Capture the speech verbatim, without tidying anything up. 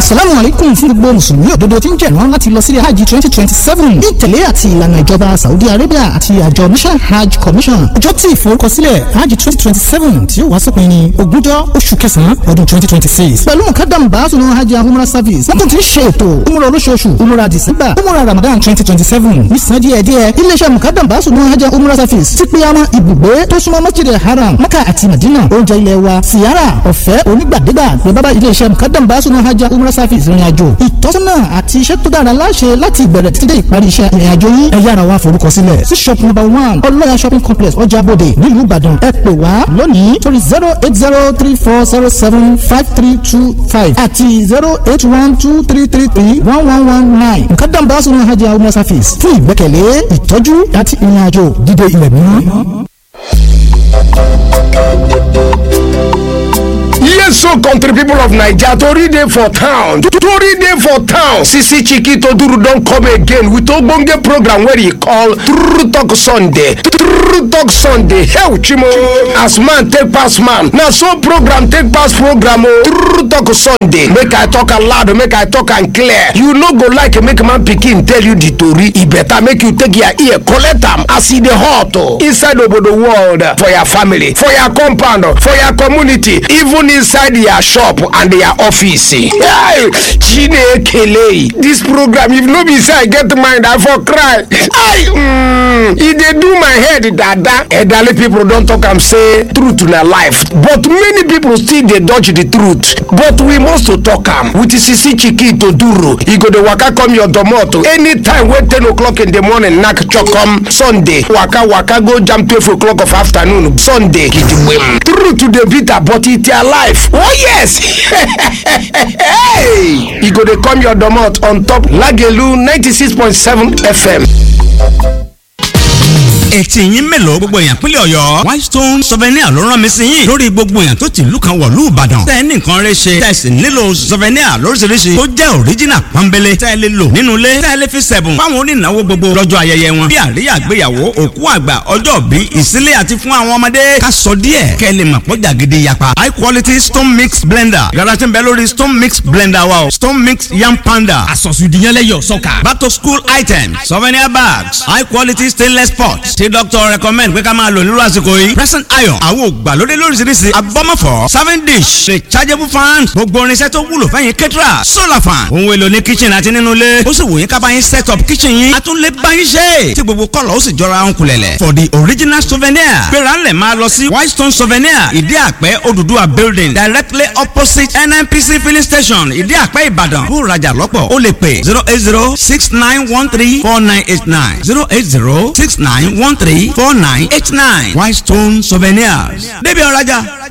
Asalaamu alaikum fún gbogbo Mùsùlùmí òdodo tí ń jẹ̀rán láti lọ sílé Hajj twenty twenty seven ní ìtẹ̀lé àti ìlànà ìjọba Saudi Arabia àti àjọ National Hajj Commission. Ọjọ́ tí ìforúkọsílẹ̀ Hajj twenty twenty seven tí ó wá sópin ní ogúnjọ́ oṣù kẹsàn-án ọdún twenty twenty six. Pẹ̀lú mukadam baasunu Hajj Umrah Service, wọ́n tún ti ń ṣe ètò Umrah olóṣooṣù, Umrah December, Umrah Ramadan twenty twenty seven. Nísàn díẹ̀ díẹ̀, iléeṣẹ́ mukadam baasunu Hajj Umrah Service ti pe àwọn ibùgbé tó súnmọ́ Masjid Haram, Mecca àti Madina, oúnjẹ ilẹ̀ wa, Siyara, ọ̀fẹ́ onígbàdégbà ní bábá iléeṣẹ́ mukadam baasunu Hajj Umrah Service ìrìn àjò ìtọ́sọ́nà àti iṣẹ́ tó dára láṣẹ láti ìbẹ̀rẹ̀ títí dé ìparí iṣẹ́ ìrìn àjò yín. Ẹ yára wá forúkọ sílẹ̀ sí shop number one Ọlọ́ya shopping complex, Ọjà Bòde, nílùú Ìbàdàn. Ẹ pè wá lónìí sórí zero eight zero three four zero seven five three two five àti zero eight one two three three three one one one nine. Mukadam baasunu Hajj Umrah Service fún ìgbẹ́kẹ̀lé, ìtọ́jú àti ìrìn àjò dídé ilẹ̀ mímọ́. Yes, so country people of Naija, tori dey for town. Tori dey for town. Sisi Chiki Toduru don come again with ogbonge program wey e call True Talk Sunday. True Talk Sunday. Hell, Chimo. As man take pass man. Na so program take pass program o. True Talk Sunday. Make I talk am loud, make I talk am clear. You no go like make man pikin tell you the tori. E better make you take your ear collect am as e dey hot o. Inside obodo world, for your family, for your compound, for your community, even inside their shop and their office. Hey, Chinekele. This program, if no be say I get mind, I for cry. I, mm, e dey do my head dada. Elderly people don talk am say truth na life, but many people still dey dodge the truth. But we must to talk am with Sisi Chiki Toduro. E go dey waka come your domot anytime wey ten o'clock in the morning knack chokom Sunday. Waka waka go jam twelve o'clock of afternoon Sunday. Gidigbem. Truth dey bitter, but e alive. Oh yes. Hey, e go dey come your domot on top Lagelu ninety-six point seven F M. Etí yín mélòó, gbogbo èèyàn pínlẹ̀ Ọ̀yọ́? Whitestone Souvenir ló rán mi sí yín lórí gbogbo èèyàn tó ti ìlú kan wọ̀lú Ìbàdàn. Tẹ́ ẹ ní nǹkan rẹ ṣe, tẹ́ ẹ sì nílò souvenir lóríṣiríṣi tó jẹ́ original pọ́nbélé, tẹ́ ẹ lè lò nínú ilé, tẹ́ ẹ lè fi sẹ̀bùn fáwọn onínáwó gbogbo lọ́jọ́ ayẹyẹ wọn, bí àríyá ìgbéyàwó, òkú àgbà, ọjọ́ bí, ìsílé àti fún àwọn ọmọdé. Ká sọ díẹ̀ kẹ́ ẹ lè mọ̀ pọ́jà gidi yapa. High quality stone mix blender yàrá tí ń bẹ lórí stone mix blender wa o. Stone mix yam panda àsọ̀sùdìyànlẹ́yọ̀ sọ́kà. Back to school items, souvenir bags, high quality stainless pots tí doctor recommend pé ká máa lò nírú àsìkò yìí. Present iron, àwọn ògbàlódé lóríṣiríṣi, abọ́mọ̀fọ́ serving dish, rechargeable fan, gbogbo irinṣẹ́ tó wúlò fẹ́yìn kẹ́tìrà, solar fan, ohun èlò ní kitchen àti nínú ilé. Ó sì wù yín ká bá yín set up kitchen yín, a tún lè bá yín ṣe tí gbogbo kọ́lọ̀ ó sì jọra ń kulẹ̀lẹ̀. For the original souvenir, gbéra ńlẹ̀ máa lọ sí Whitestone Souvenir, Ìdí Àpẹ́, Odùduwà building, directly opposite N N P C filling station, Ìdí Àpẹ́, Ìbàdàn. Kó rajà lọ́pọ̀, ó lè pè zero eight zero six nine one three four nine eight nine, zero eight zero six nine one three four nine eight nine. Whitestone Souvenirs, débi ọ̀rajà.